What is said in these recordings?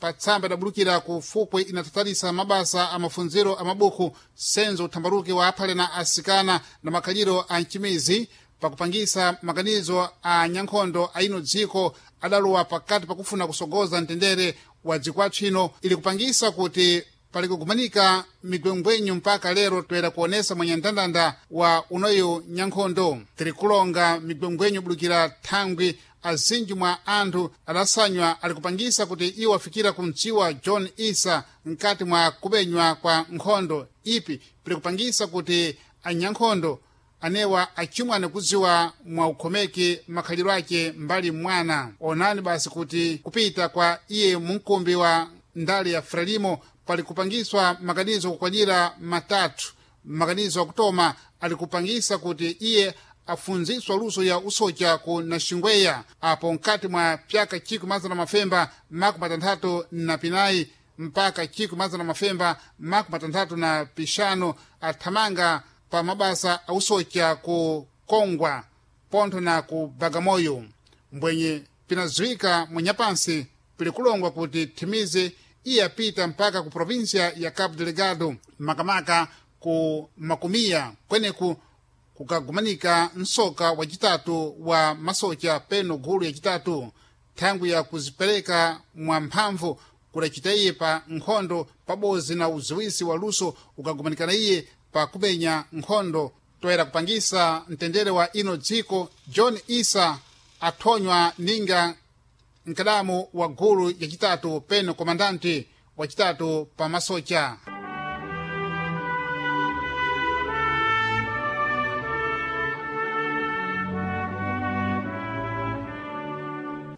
Pa tsamba idabulukira ku fukwe inatatalisa mabasa a mafunziro a mabuku senzo uthambaruki wa aphale na asikana na makhaliro a mchimizi pakupangisa maganizo a nyankhondo a ino dziko adalowa pakati pakufuna kusogoza mtendere wa dziko athu ili kupangisa kuti pali kugumanika migwengwenyu mpaka lero toyera kuonesa mwenye ndandanda wa unoyu nyankhondo. Tiri kulonga migwengwenyu bulukira thangwi azinji mwa anthu adasanywa ali kupangisa kuti iwo afikira kumdziwa John Issa mkati mwa kupenywa kwa nkhondo ipi pili kupangisa kuti anyankhondo anewa achimwane kudziwa mwa ukhomeki makhaliro ake mbali mwana. Onani basi kuti kupita kwa iye munkumbi wa ndale ya Frelimo pali kupangiswa maganizo kukwanira matatu. Maganizo akutoma ali kupangisa kuti iye afunziswa luso ya usocha ku Naxingweya apo mkati mwa pyaka 1964 mpaka 1965 athamanga pa mabasa ausocha ku Kongwa pontho na ku Bagamoyo. Mbwenye pinadziwika mwenyapansi pili kulongwa kuti thimize iye apita mpaka ku provinsia ya Cabo Delgado, makamaka ku Makumiya kweneku kukagumanika msoka wacitatu wa masocha peno gulu yacitatu thangwi ya kuzipereka mwa mphamvu kudacita iye pa nkhondo pabodzi na uziwisi wa luso ukagumanikana iye pa kupenya nkhondo toyera kupangisa mtendere wa ino dziko. John Issa athonywa ninga mkadamu wa gulu yacitatu peno komandanti wacitatu pa masocha.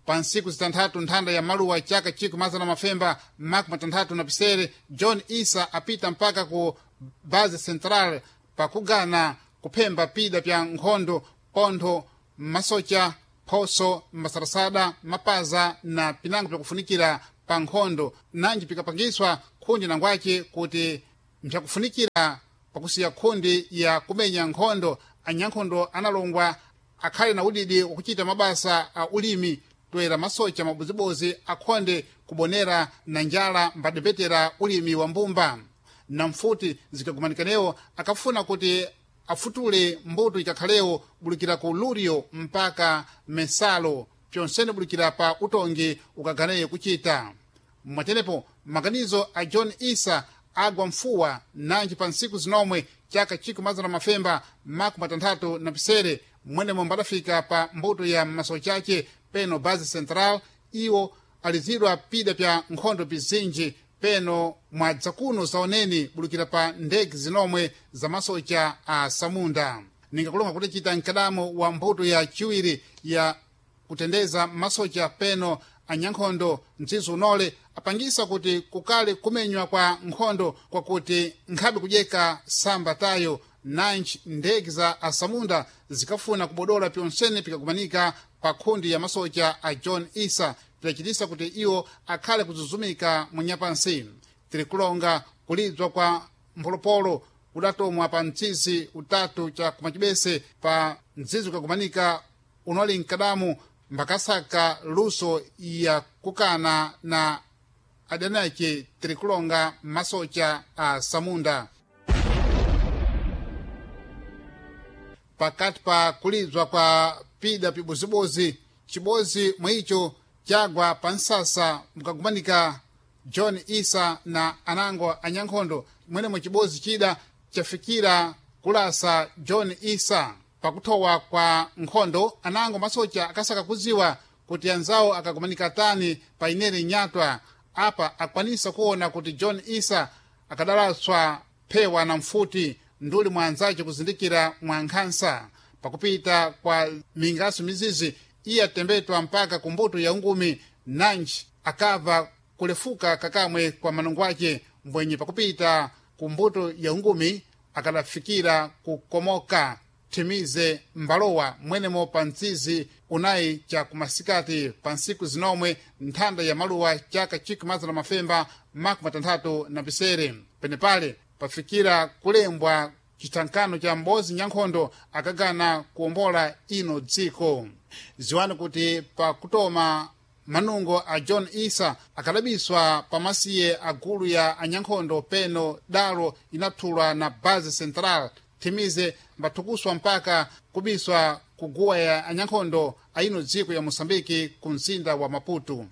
Pa ntsiku zitanthatu nthanda ya maluwa chaka 1966 John Issa apita mpaka ku base central pakugana kuphemba pida pya nkhondo pontho masocha phoso masarasada mapaza na pinango pyakufunikira pa nkhondo nanji pikapangiswa khundi nangwace kuti mpyakufunikira pakusiya khundi ya kumenya nkhondo. Anyankhondo analongwa akhale na udidi wakuchita mabasa a ulimi toera masocha mabodzibozi akhonde kubonera na njala mbadepetera ulimi wa mbumba na mfuti zikagumanikanewo akafuna kuti afutule mbuto ikakhalewo bulukira ku Lurio mpaka Mensalo pyonsene bulukira pa utongi ukaganeyo kuchita. Mwatenepo maganizo a John Issa agwa mfuwa nanji pa ntsiku zinomwe chaka 1967 mwenemo mbadafika pa mbuto ya masocha ace peno base central iwo alizidwa pida pya nkhondo pizinji peno mwadzakuno zaoneni bulukira pa ndege zinomwe za masocha a samunda. Ningakulonga kuti chita mkadamo wa mbuto ya chiwiri ya kutendeza masocha peno anyankhondo mdzizi unole apangisa kuti kukale kumenywa kwa nkhondo kwakuti nkhabe kudyeka samba tayo nanji ndege za asamunda zikafuna kubodola pyonsene pikakumanika pa khundi ya masocha a John Issa pidacitisa kuti iwo akhale kuzuzumika munyapansi. Tiri kulonga kulidzwa kwa mpholopolo kudatomwa pa mtsizi utatu cha kumacibese pa mdzizi ukakumanika unoli mkadamu mbakasaka luso ya kukana na adani ace. Tiri kulonga masocha a samunda pakati pa kulidzwa kwa pida pibozibozi cibozi mwicho chagwa pa nsasa mukagumanika John Issa na anango anyankhondo mwenemo cibozi chida chafikira kulasa John Issa. Pakuthowa kwa nkhondo anango masocha akasaka kudziwa kuti anzawo akagumanika tani pa inere nyatwa apa akwanisa kuona kuti John Issa akadalaswa phewa na mfuti nduli mwa anzace kuzindikira mwa nkhansa. Pakupita kwa mingaso mizizi iye atembetwa mpaka kumbuto ya ungumi nanji akava kulefuka kakamwe kwa manungo ace mbwenye pakupita kumbuto ya ungumi akadafikira kukomoka thimize mbalowa mwenemo pa mtsizi unayi cha kumasikati pa ntsiku zinomwe nthanda ya maluwa chaka 1967. Penepale pafikira kulembwa chithankano cha mbozi nyankhondo akagana kuwombola ino dziko. Ziwani kuti pakutoma Manungo a John Isa akadabiswa pamasiye a gulu ya anyankhondo peno dalo inathulwa na Base Central. Thimize mbathukuswa mpaka kubiswa kuguwa ya anyankhondo aino dziko ya Moçambique ku mzinda wa Maputo.